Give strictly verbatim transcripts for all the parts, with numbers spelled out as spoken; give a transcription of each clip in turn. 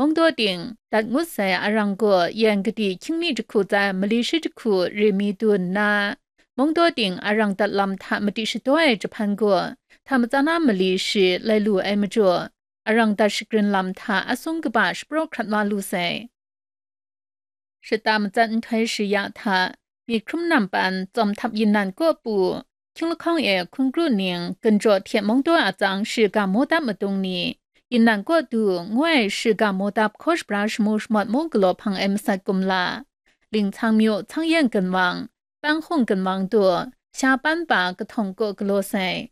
Mungdaw ting dat ngut sai arang gaw yan kadi hkying mi jahku tsai mali shi jahku re mi du nna, mungdaw ting arang dat lam hta madi shadaw ai jahpan gaw, hta matsan na mali shi lai lu ai majaw, arang dat shagrin lam hta asung kaba shapraw hkrat wa lu sai. Shata matsat nhtoi shaya hta, myit hkrum nampan, tsawm htap yinan kaw pu, hkying lahkawng e hkun kru ning, ginjaw hte mungdaw atsang shiga maw dap madung ni, yinan kaw du ngu ai shiga maw dap hkaw shabra shamu shamawt mu galaw hpang ai masat kumla, lingtsang myu, tsang yen ginwang, pang hung ginwang du, sha pan pa kahtawng kaw galaw sai.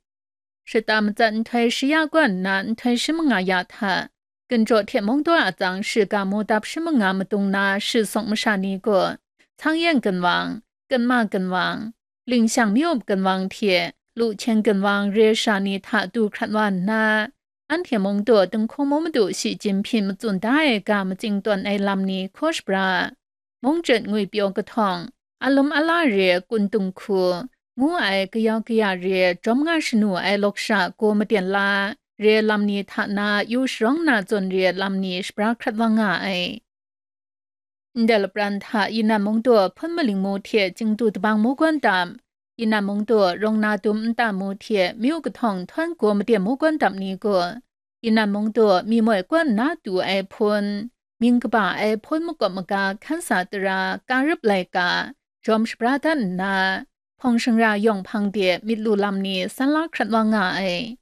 Shata matsat nhtoi shaya kaw nna nhtoi shi manga ya hta, ginjaw hte mungdaw atsang shiga maw dap shi manga madung na shi sawng masha ni gaw, tsang yen ginwang, kanma ginwang, lingshang myu-up ginwang hte luhchen ginwang re sha ni hta du hkrat wa nna, anhte mungdaw dinghku mu madu shi chyinghpyi matsun da ai ga matsing tawn ai lam ni hkaw shabra, mung chyet ngwi pyaw kahtawng, alum ala re kun dung hku, ngu ai kayau kaya re jawm nga shanu ai lawk sha gaw maten la, re lam ni hta na yu sharawng na zawn re lam ni shabra hkrat wa nga ai. Ndai lapran hta yinan mungdaw hpun maling mu hte chingdu dabang mu gawn dap, yinan mungdaw rawng na dum nta mu hte myu kahtawng htawn gaw maten mu gawn dap ni gaw, yinan mungdaw mi moi kaw nna du ai hpun, mying kaba ai hpun makawp maga hkan sa tara ka rup laika, jawm shabra dat nna, hpawng shangra yawng hpang de myit lu lam ni san la hkrat wa nga ai.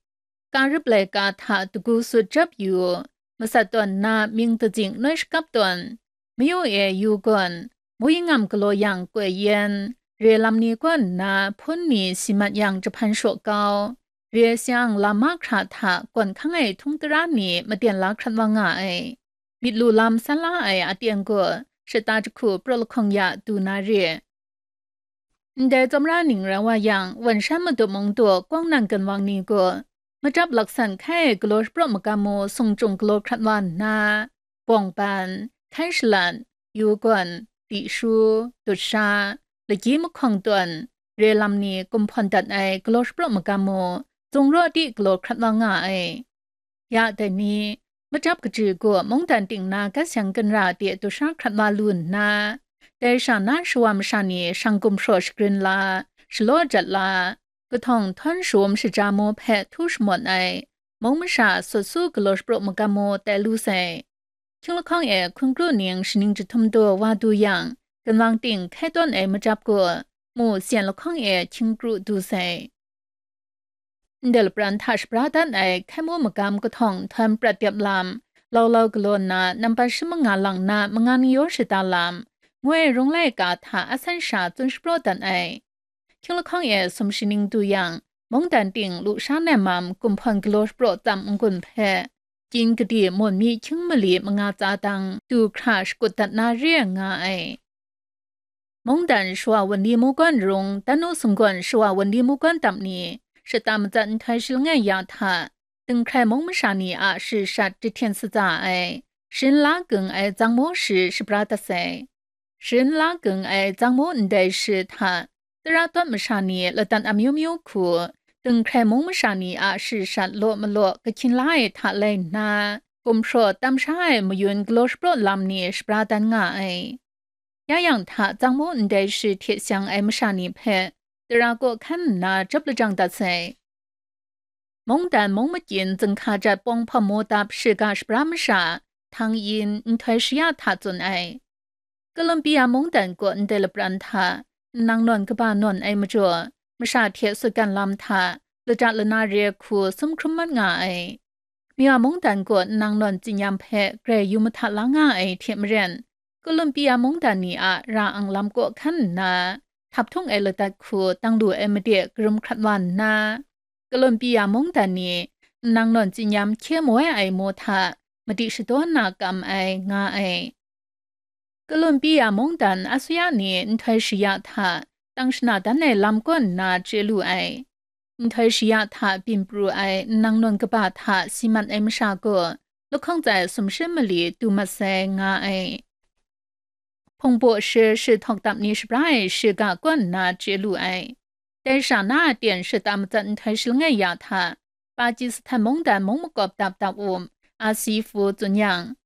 Ka rup laika hta dagu sut jap yu, masat tawn nna mying dazing noi shakap tawn, mayu e yu gawn, mu yingam galaw yang koi yen, re lam ni kaw nna hpun ni si mat yang jahpan shaw kau, re sayang lam mahkra hta gawn hkang ai htung tara ni maten la hkrat wa nga ai. Myit lu lam san la ai aten gaw, shata jahku praw lahkawng ya du na re. Ndai tsawmra ning rai wa yang, wan shan madup mung daw kawng nang ginwang ni gaw, machyap laksan hkai ai galaw shapraw magam mu sung chyung galaw hkrat wa nna, bawng ban, hkai shalat, yu gawn, di shu, dut sha, lagyi mahkawng tawn, re lam ni kumhpawn dat ai galaw shapraw magam mu, zung raw di galaw hkrat wa nga ai. Ya dai ni, machyap kaji gaw mungdan ting na gat seng ginra de dusha hkrat wa lu nna, dai sha na shawa masha ni shang gumhpraw shagrin la, shalaw jat la, kahtawng htawn shawm shaja mu hpe htu shamawt ai, mung masha sut su galaw shapraw magam mu tai lu sai. Hkying lahkawng e hkun kru ning shaning jahtum daw wa du yang, ginwang ting hkai tawn ai machyap gaw, mu syen lahkawng e hkying kru du sai. Ndai lapran hta shabra dat ai hkai mu magam kahtawng htawn prat dep lam, laulau galaw nna nampat shi manga lang na manga ni yaw shada lam, ngoi rung laika hta asan sha tsun shapraw dat ai. Hkying lahkawng e sum shaning du yang, mungdan ting lu sha nem mam kumhpawn galaw shapraw tsam n-gun hpe, kyin kadi mawn mi hkying mali manga tsa dang du hkra shakut dat na re ai nga ai. Mungdan shawa wunli mu gawn rung, dan nu sunggawn shawa wunli mu gawn dap ni, shata matsat nhtoi shi langai ya hta, dinghkrai mung masha ni a sharit shat jahten satsa ai, sharin la gung ai tsang mu shi shabra dat sai. Sharin la gung ai tsang mu ndai shi hta, tara tawt masha ni ladat amyu myu hku, dinghkrai mung masha ni a sharit shat law malaw kahkyin la ai hta lai nna, gumhpraw tam sha ai mayun galaw shapraw lam ni shabra dan nga ai. Ya yang hta tsang mu ndai shi hte seng ai masha ni hpe, tara kaw hkan nna jawp lajang dat sai. Mungdan mung makyin zinghka jat pawng hpawm mu dap shiga shabra masha, htang yin nhtoi shaya hta tsun ai. Columbia mungdan kaw ndai lapran hta, nnang nawn kaba nawn ai majaw, masha hte sutgan lam hta, lata lana re hku sum hkrum mat nga ai. Mya mungdan kaw nnang nawn tsinyam hpe grai yu mahta la nga ai hte maren, Columbia mungdan ni a ra ang lam kaw hkan nna, htap htung ai ladat hku dang lu ai made karum hkrat wa nna, Columbia mungdan ni nnang nawn tsinyam hkye moi ai mu hta madi shadaw na kam ai nga ai. Columbia mungdan asuya ni nhtoi shaya hta tang shana dan ai lam kaw nna chye lu ai. Nhtoi shaya hta byin pru ai nnang nawn kaba hta si mat ai masha gaw, lahkawng tsai sumshi mali du mat sai nga ai. Hpungbaw shi shi htawk dap ni shabra ai shiga kaw nna chye lu ai. Dai sha na a ten shata matsat nhtoi shi langai ya hta, Pakistan mungdan mung makawp dap dap um, a si fu tsun yang,